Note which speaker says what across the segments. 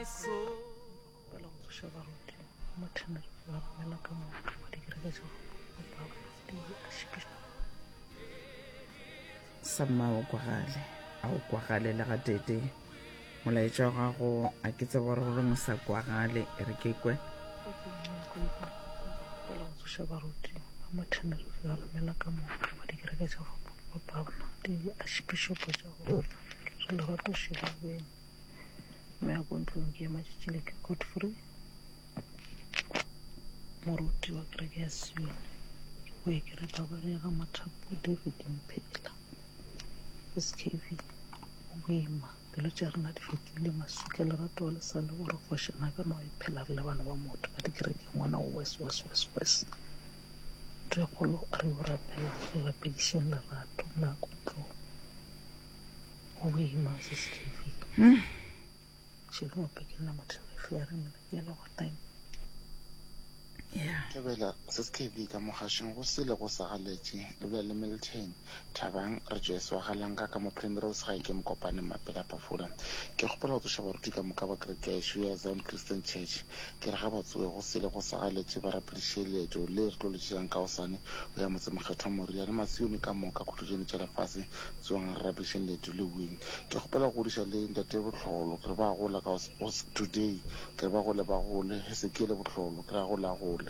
Speaker 1: Kgopela go tsoša baruti ba Mathenere ba romela ka moka ba dikereke tša go fapana di a
Speaker 2: Samma o kwagale, a o kwagale le gatete. Molaetša wa gago a ke tsebe gore goreng o sa kwagale, e re ke kwe.
Speaker 1: Kgopela go tsoša baruti ba Mathenere ba romela ka moka ba dikereke tša go fapana di archbishopo tša go re lerato šedibeng. Mme a ko ntlong ke ema tšatši ke Godfrey moruti wa kereke ya Sione ke boe ke re babare ga Mathapo David Mphela SKV o boima pelo tša rena di fetile maswika lerato le sa le gore kgošana ka no e phela re le bana ba motho ka dikerekeng ngwana o wes wes wes wes ntho e kgolo re yo rapela re rapedišeng lerato nako ntlong Go boima sis KV.
Speaker 2: Hmm.
Speaker 1: Šedi ope ke nna motho ya re nna ke lego time.
Speaker 2: Yeah.
Speaker 3: Thobela sis KV ka mogašong go sele go sa galetše le bolela le Milton Thabang re Joyce wa Galanka ka mo Primrose gae ke Mokopane Mapela Pafula. Ke kgopela go tsoša baruti ka moka ba kereke ya ešo ya Zion Christian Church ke re ga ba tsoge go sele go sa galetše ba rapediše leeto le re tlo le tšeang ka gosane go ya motsemokgethwa Moria le Masione ka moka khutlojane tša lefase Tsogang re rapedišeng leeto le win. Ke kgopela go godiša le ntate Bohlolo ke re ba gola ka today ke re ba gole ba gole Hesekiele Bohlolo ke re a gole a gole.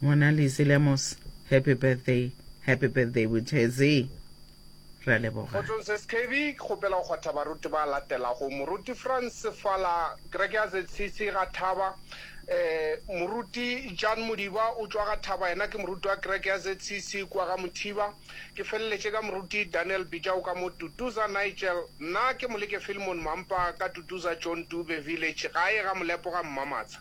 Speaker 2: Ngwana Lizzy Lemos happy birthday happy birthday Butezi re a leboga.
Speaker 4: Kgotsong Sis KB, ke kgopela go kgwatha baruti ba latelago, Moruti Frans Sefala, kereke ya ZCC ga Thaba, Moruti Jan Modiba o tšwa ga Thaba yena ke moruti wa kereke ya ZCC kua ga Mothiba, Ke feleletše ka Moruti Daniel Bijau ka mo Tutuza Nigel. Nna ke Moleke Philemon Mampa ka Tutuza John Dube Village gae ga Molepo ga Mmamatsha.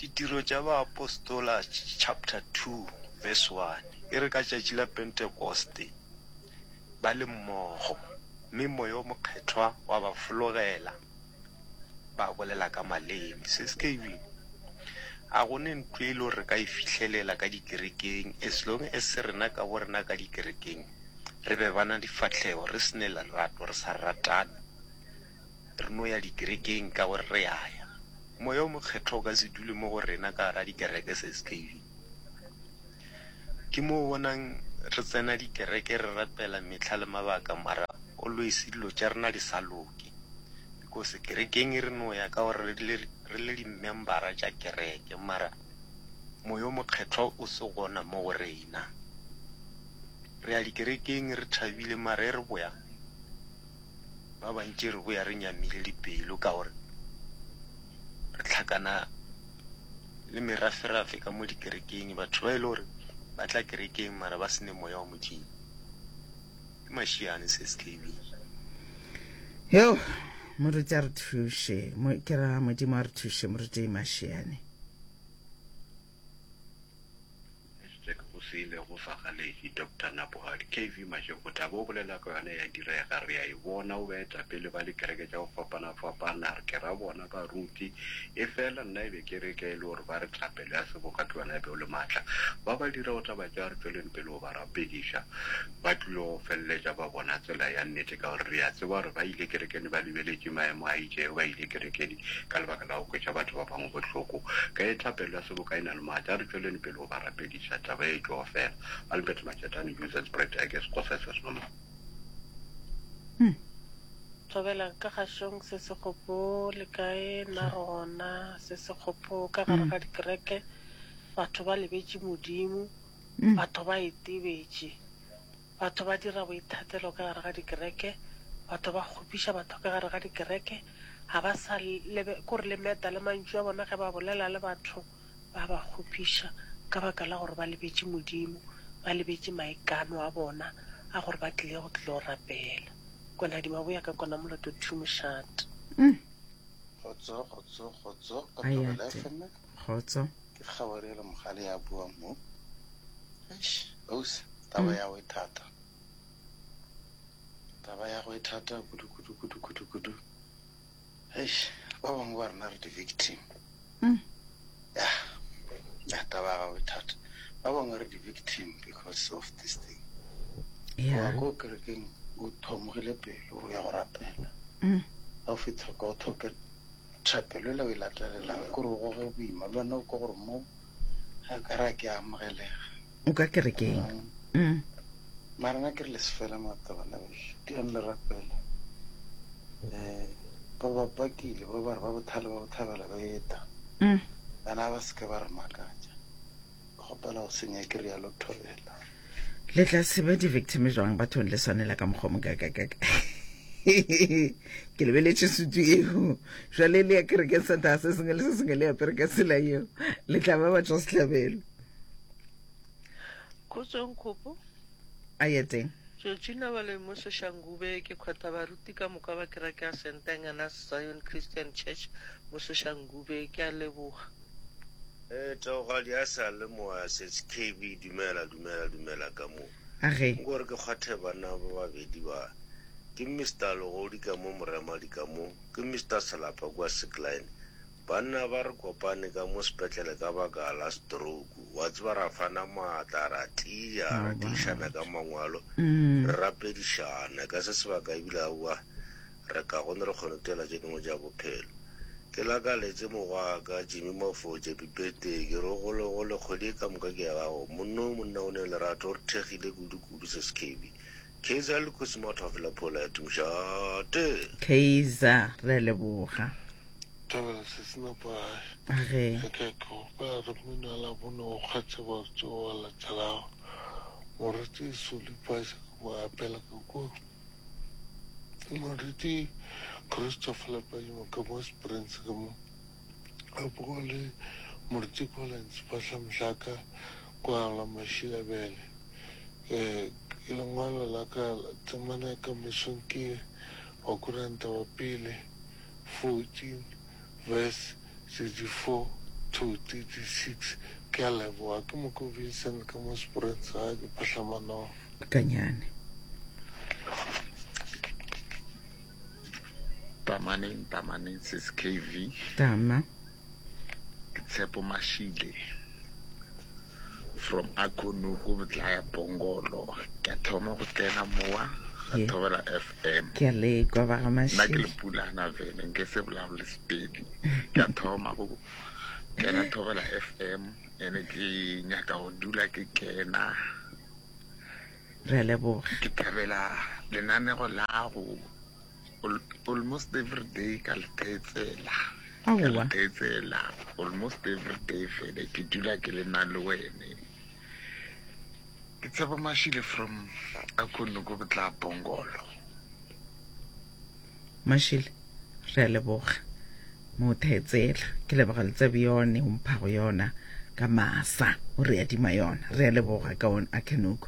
Speaker 5: Ditiro tša Baapostola chapter 2 verse 1 e re ka tšatši la Pentekoste ba le mmogo, mme Moya o Mokgethwa wa ba fologela. ba bolela ka maleme. Se se ke ebile a go ne ntlo e le gore re ka e fihlelela ka dikerekeng as long as rena ka bo rena ka dikerekeng re be bana difahlego, re se ne lerato, re sa ratane, re no ya dikerekeng ka gore re a ya. Moya o Mokgethwa o ka se dule mo go rena ka gara dikereke SKV. Ke mo o bonang re tsena dikereke re rapela mehla le mabaka mara always dilo tša rena di sa loke. Because kerekeng re no ya ka gore re le di-membera tša kereke mara Moya o Mokgethwa o se gona mo go rena. Re ya dikerekeng re thabile mara e re boya ba bantši re boya re nyamile dipelo ka gore re hlakana le meraferafe ka mo dikerekeng, batho ba e le gore ba tla kerekeng mara ba se ne Moya wa Modimo. Ke mašiane sis KB.
Speaker 2: Yo, moruti a re thuše, ke ra Modimo a re thuše, moruti Mašiane.
Speaker 6: Hashtag go se ile go sa galetše Doctor Napohadi KV Mashego taba o bolela ka yona ya direga re a e bona o baetapele ba dikereke tša go fapana fapana re ke ra bona baruti e fela nna e be ke re ke e le gore ba re thapelo ya seboka ke yona e be o le maatla ba ba dirago taba tša re tšweleng pele go ba rapediša Ba tlilo go feleletša ba bona tsela ya nnete, ka gore re a tseba gore ba ile kerekeng ba lebeletše maemo a itšego, ba ile kerekeng ka lebaka la go kwetša batho ba bangwe bohloko. Ka ge thapelo ya seboka e na le maatla, a re tšweleng pele go ba rapediša. Taba ye e tlo fela. Albert Machetane, News and Spread, Ek is Xhosa es normal.
Speaker 7: Thobela ka gašong se se kgopo le kae nna re gona se se kgopo ka gare ga dikereke batho ba lebetše Modimo Batho ba itebetše. Batho ba dira boithatelo ka gare ga dikereke. Batho ba kgopiša batho ka gare ga dikereke. Ga ba sa lebe, kore le meta le mantšu a bona ge ba bolela le batho, ba ba kgopiša ka baka la gore ba lebetše Modimo, ba lebetše maikano a bona a gore ba tlile go tlilo rapela. Kwana Dimaboya ka kwana moloto two mošate.
Speaker 3: Kgotso, kgotso, kgotso, ka Thobela
Speaker 2: Ayate.
Speaker 3: FM.
Speaker 2: Kgotso.
Speaker 3: Ke Kgabarelo Mogale ya buang mo. Eish, ausi, taba ya go e thata. Taba ya go e thata kudu kudu kudu kudu kudu. Eish, ba bangwe ba rena re di-victim. Ya, ya taba ya gago e thata. Ba bangwe re di-victim because of this thing.
Speaker 2: Yeah.
Speaker 3: Wa ko kerekeng.
Speaker 8: o thomogile pelo o ya go rapela ga o fitlha kwa o thoke thapelo ela o e latelelang kore o goge boima le wena o kwa gore mo ga ka ra ke amogelega
Speaker 2: O ka kerekeng. Mm.
Speaker 8: Mara nna ke re le se fele maatla bana bešo, tiang le rapele. Um ba ba pakile ba ba re ba bothale ba bothabela ba eta.
Speaker 2: Mm.
Speaker 8: Bana ba se ke ba re makatša. Ke kgopela go senya ke rialo thobela.
Speaker 2: Le tla se be di-victim jwang bathong le swanela ka mokgwa mokakakaka. Ke lebeletše sutu eo. Jwale le ya kerekeng Sontaga se sengwe le se sengwe le apere ka tsela eo. Le tla ba batšwa sehlabelo.
Speaker 9: Kgotsong Kgopo.
Speaker 2: A ye teng.
Speaker 9: Georgina Baloi mo Soshanguve ke kgwetha baruti ka moka ba kereke ya St. Angelas Zion Christian Church mo Soshanguve. Ke a leboga.
Speaker 10: Eh, Theogadi a sa le moya setse KB dumela dumela dumela ka mo.
Speaker 2: Age.
Speaker 10: Nko re ke kgwathe banna ba babedi ba. Ke Mister Legodi ka mo Moremadi ka mo, ke Mister Selapa kua Sickline. Banna ba re kopane ka mo sepetlele ka baka la stroke. Wa tseba ra fana maatla, ra tia, ra tiišana ka mangwalo, re rapedišana. Ka se sebaka ebile aowa re kagone re kgone tela tše dingwe tša bophelo. Ke lakaletše mogwaka Jimmy Mafotše Pipeteng, ke re o gole gole kgwedi e ka moka ke ya gago. Monno o monna o ne lerato, o re thekgile kudu kudu Sis KB. Kaizer le Kgosi Mathwafela Phola ya Tumošate.
Speaker 2: Kaizer, re a leboga.
Speaker 11: Thabela se se napa
Speaker 2: Age.
Speaker 11: Ke ke kgopela re mmino wa Labone o kgethe batho ba latelago. Moruti Soli Paisa ka mo apela ka kua. Moruti Christopher Lepadimo ka mo Springs ka mo. A boa le Moruti Collins Phahla Mhlaka kwa la Mashilabele. Eh, lengwalo la ka temana ya ka mesong ke Bakoranta wa pele 14 verse 34 to 36. Ke a leboga. Ke Moko Vincent ka mo Springs ga ke Phahlamanong.
Speaker 2: Kanyane.
Speaker 3: Tamaneng, tamaneng sis KV.
Speaker 2: Tama.
Speaker 3: Ke Tshepo Mashile from Akonuku Botlaya Pongolo. Ke a thoma go tsena mowa ga
Speaker 2: Yeah.
Speaker 3: Thobela FM.
Speaker 2: Ke a lekwa ba ga
Speaker 3: Nna ke
Speaker 2: Mashile.
Speaker 3: le pulana vele nke se bolabole Sepedi. Ke a thoma go kena Thobela FM ene ke nyaka go dula ke kena.
Speaker 2: Re a leboga.
Speaker 3: Ke thabela lenanego la go almost every day ka le theetsela. Ka le
Speaker 2: Aowa.
Speaker 3: theetsela almost every day fele ke dula ke le na le wene. Ke Tshepo Mashile from Akonuku Botla Bongolo.
Speaker 2: Mashile, re a leboga. Mo theetsela. Ke leboga le tsebe yone o mphago yona ka masa o re adima yona. Re a leboga ka on Akonuku.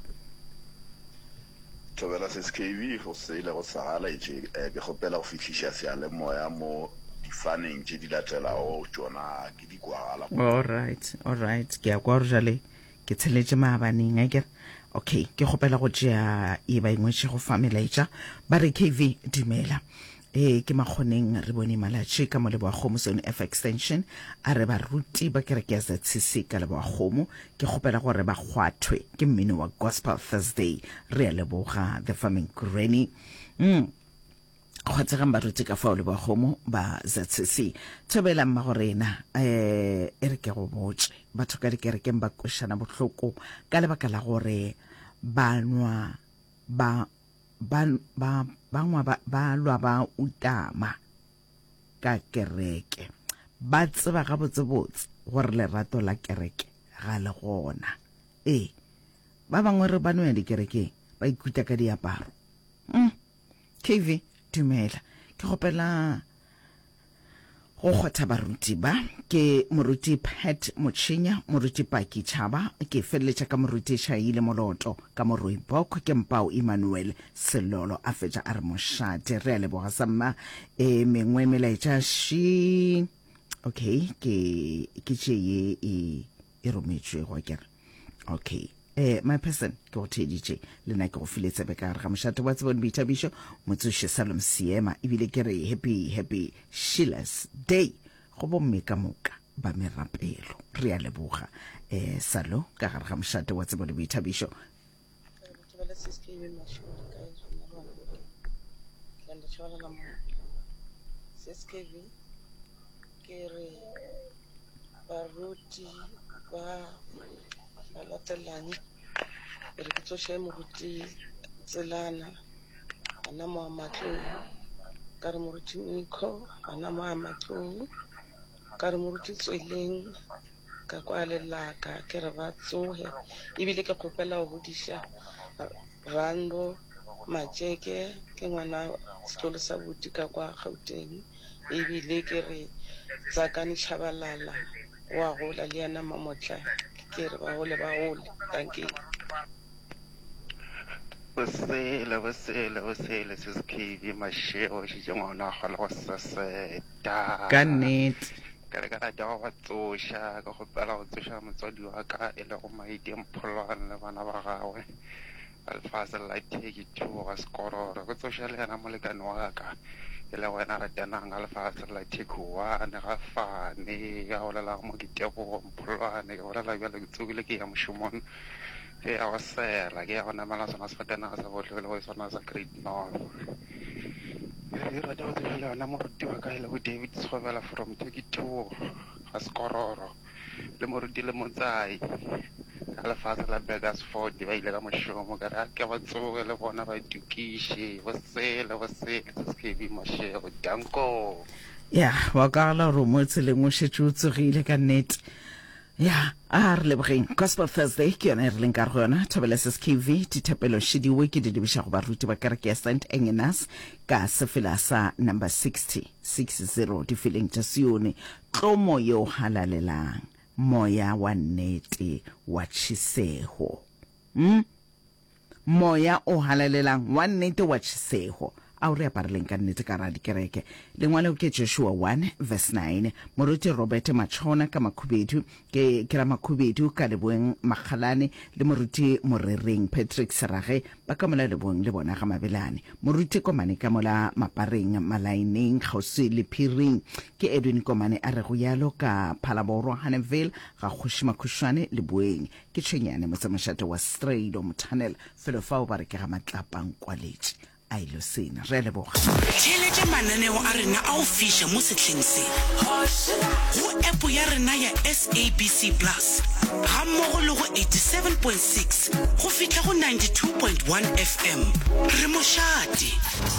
Speaker 12: Thobela Sis KB, go se ile go sa laetše ke kgopela go fihliša seyalemoya mo difaneng tše di latelago tšona ke di kwagala.
Speaker 2: Alright, alright, ke a kwa gore jale ke tsheletše maabaneng akere. Okay, ke kgopela go tšea e ba e ngwetšego fa melaetša. Ba re KV dumela. Ee, ke Makgoneng re bone Malatši ka mo Leboakgomo Zone F Extension. A re baruti ba kereke ya ZCC ka Leboakgomo ke kgopela gore ba kgwathwe ke mmino wa Gospel Thursday. Re a leboga The Farming Granny. Mm. Kgwathegang baruti ka fao Leboakgomo ba ZCC. Thobela mmagorena, eh, e re ke go botše. Batho ka dikerekeng ba kwešana bohloko ka lebaka la gore ba nwa ba ba, ba, bangwe ba, ba lwa ba utama ka kereke. Ba tseba gabotsebotse gore lerato la kereke ga le gona. Ee, ba bangwe re ba no ya dikerekeng ba ikuta ka diaparo. Mm. KV, dumela. Ke kgopela Go kgotha baruti ba ke Moruti Pat Motšhinya, Moruti Paki Tšhaba, ke feleletša ka Moruti Shaile Moloto, ka mo Rooibok ke Mpao Emmanuel Selolo, a fetša a re mošate. Re a leboga samma. E mengwe melaetša ši. Okay, ke ke tše ye e e rometšwego akere. Okay. Eh, my person, ke go theeditše le nna ke go file tsebe ka gare ga mošate wa tsebo le boithabišo motsoši Salom Seema ebile ke re happy happy Sheila's Day go bomme ka moka ba merapelo. Re a leboga eh Salo ka gare ga mošate wa tsebo le boithabišo.
Speaker 13: Tshabalala mo CSKV ke re baruti ba ba latelang ke re ke tsoše moruti Tselana gona mo a Matlou ka re moruti Nico gona mo a Matlou ka re moruti Tsweleng ka kwa lelaka ke re ba tsoge ebile ke kgopela go godiša Rando Matšeke ke ngwana setlolo sa buti ka kwa Gauteng ebile ke re Tsakani Tshabalala wa gola le yena Mamotla ke re ba gole ba gole. Dankie.
Speaker 14: Bosele, bosele, bosele, sis KB Mashego, šetše ngwana a kgona go seseta.
Speaker 2: Ka nnete.
Speaker 14: Ke re ke rata go ba tsoša, ke kgopela go tsoša motswadi wa ka e lego Maite Mpholwane le bana ba gagwe ba lefase la 32 ga Sekororo. Ke tsoše le yena molekane wa ka e lego yena Ratanang ga lefase la 31 ga Fane ya bolelago mo ke Tebogo Mpholwane. Ke bolela bjalo ke tsogile ke ya mošomong ke ya go sela ke ya go namela sona sefatanaga sa bohle e lego sona sa Great North. Ke rata go tseba le yona moruti wa ka e lego David Tshobela from 32 ga Sekororo le moruti le Motsai ka lefase la Burgersfort ba ile ka mošomo ka re a ke ba tsoge le bona ba itokiše bo sele bo sele se se ke Mashego danko.
Speaker 2: Ya wa kwagala gore o mo tseleng o šetše o tsogile ka nnete. Ya, a re lebogeng. Gospel Thursday ke yona e re leng ka go yona. Thobela SSKV, dithapelo šidiwe ke di lebiša go baruti ba kereke ya St. Engenas ka sefela sa number 60, 60, difeleng tša Sione. Tlomo yo halalelang, moya wa nnete wa tšhisego. Hmm? Moya o Halalelang wa nnete wa tšhesego, a o re apareleng ka nnete ka ra dikereke. Lengwalo ke Joshua 1 verse 9. Moruti Robert Matšhona ka Makhubedu, ke, ke ra Makhubedu ka Leboeng Makgalane, le Moruti Morereng Patrick Serage ba ka mola Leboeng le bona ga Mabelane. Moruti Komane ka mola Mapareng Malaeneng kgauswi le Phiring. Ke Edwin Komane a rego yalo ka Phalaborwa Haneville ga Kgoši Makhušwane Leboeng. Ke tšhwenyane motsemošate wa Strydom Tunnel, felo fao ba re ke ga Matlapa-Nkwaletše a ilo sena. Re a leboga.
Speaker 15: Theeletša mananeo a rena a go fiša mo sehleng se go app ya rena ya SABC Plus gammogo le go 87.6 go fihla go 92.1 FM. Re mošate.